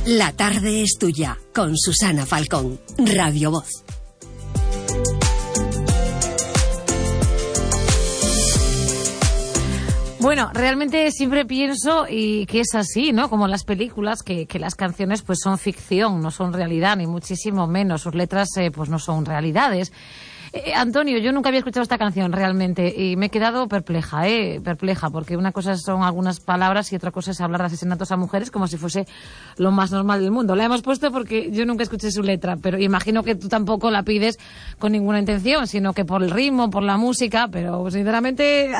La tarde es tuya, con Susana Falcón, Radio Voz. Bueno, realmente siempre pienso y que es así, ¿no? Como las películas, que las canciones pues son ficción, no son realidad, ni muchísimo menos. Sus letras pues no son realidades. Antonio, yo nunca había escuchado esta canción realmente y me he quedado perpleja, porque una cosa son algunas palabras y otra cosa es hablar de asesinatos a mujeres como si fuese lo más normal del mundo. La hemos puesto porque yo nunca escuché su letra, pero imagino que tú tampoco la pides con ninguna intención, sino que por el ritmo, por la música, pero sinceramente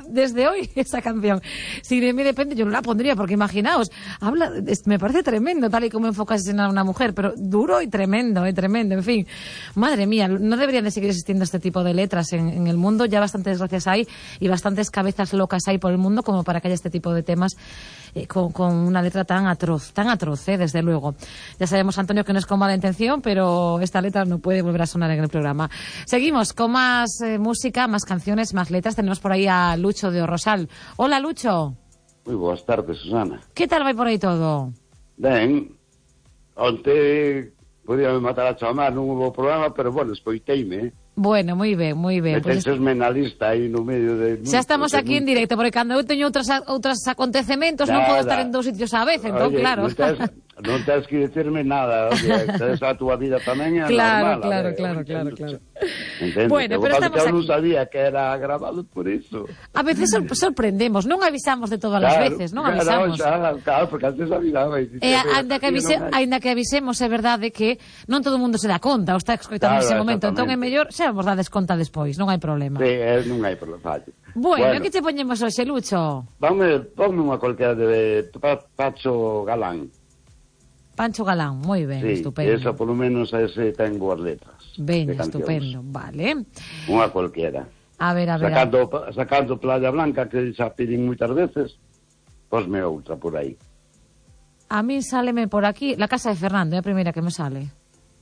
desde hoy esa canción, si de mí depende, yo no la pondría, porque imaginaos, me parece tremendo tal y como enfoca asesinar a una mujer, pero duro y tremendo, en fin, madre mía, no deberían de seguir existiendo este tipo de letras en el mundo. Ya bastantes desgracias hay y bastantes cabezas locas hay por el mundo como para que haya este tipo de temas con una letra tan atroz, desde luego. Ya sabemos, Antonio, que no es con mala intención, pero esta letra no puede volver a sonar en el programa. Seguimos con más música, más canciones, más letras. Tenemos por ahí a Lucho de Rosal. Hola, Lucho. Moi boas tardes, Susana. Que tal vai por aí todo? Ben, onte podíame matar a chamar, non hubo programa, pero bueno, escoiteime, Bueno, moi ben. Metésesme na lista aí no medio de... Xa estamos aquí en directo, porque cando eu teño outros acontecementos non podo estar en dous sitios á vez, entón, oye, claro. Non tens que dicirme nada, oye, tens a túa vida tamén é normal. Claro. Entendo? Bueno, pero estamos aquí. Eu aquí. non sabía que era grabado por iso. A veces sorprendemos, non avisamos de todas as veces, non avisamos. Claro, porque antes avisaba. Ainda que avisemos, é verdade que non todo o mundo se dá conta, ou está escoitando ese momento, entón é mellor xa vos dades conta despois, non hai problema. Sí, non hai problema. Bueno, que te poñemos hoxe, Lucho? Ponme unha cualquiera de Pacho Galán. Pancho Galán, moi ben, sí, estupendo. Esa, por lo menos, ese ten boas letras. Ben, estupendo, vale. Unha cualquiera. A ver. Sacando Playa Blanca, que xa piden moitas veces, posme outra por aí. A mí sáleme por aquí, La Casa de Fernando, é a primeira que me sale.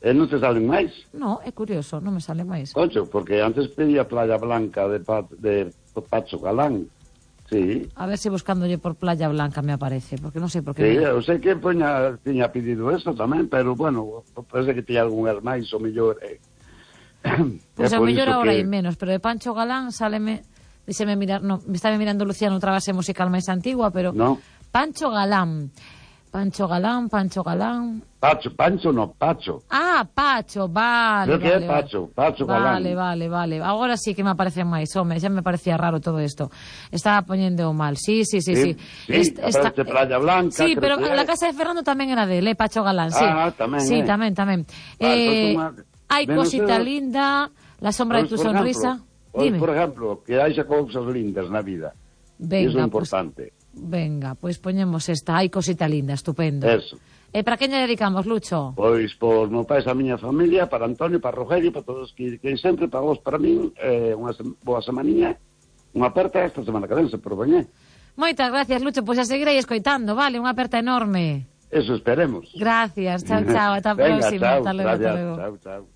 E non te salen máis? No, é curioso, non me sale máis. Concho, porque antes pedía Playa Blanca de Pacho Galán. Sí. A ver se buscándolle por Playa Blanca me aparece, porque non sei por que... Sí, eu sei que tiña pedido eso tamén, pero, bueno, parece que tiña algunhas máis, o mellor... Pois o mellor agora hai menos, pero de Pancho Galán sáleme... Díxeme mirar, no, me estaba mirando Luciano outra base musical máis antigua, pero... No. Pancho Galán. Pancho Galán. Pancho no, Pacho. Ah, Pacho, vale. Creo que é Pacho Galán. Vale. Agora sí que me aparecen máis, home, xa me parecía raro todo isto. Estaba poñendo mal. Sí. Aparece Playa Blanca. Sí, pero La Casa de Fernando tamén era dele, Pacho Galán, sí. Ah, tamén. Sí, tamén. Hai cosita linda, La sombra de tu sonrisa. Dime. Por ejemplo, que haixa cousas lindas na vida. Venga, iso é importante. Venga, pois poñemos esta, hai cosita linda, estupendo. Eso. E para quen lle dedicamos, Lucho? Pois por meu pai, a miña familia, para Antonio, para Rogelio, para todos que sempre, para vos, para min, unha boa semaninha, unha aperta esta semana que ven, se propoñe. Moitas gracias, Lucho, pois a seguirei escoitando, vale, unha aperta enorme. Eso esperemos. Gracias, chao, ata a próxima. Venga, chao, hasta luego. Chao.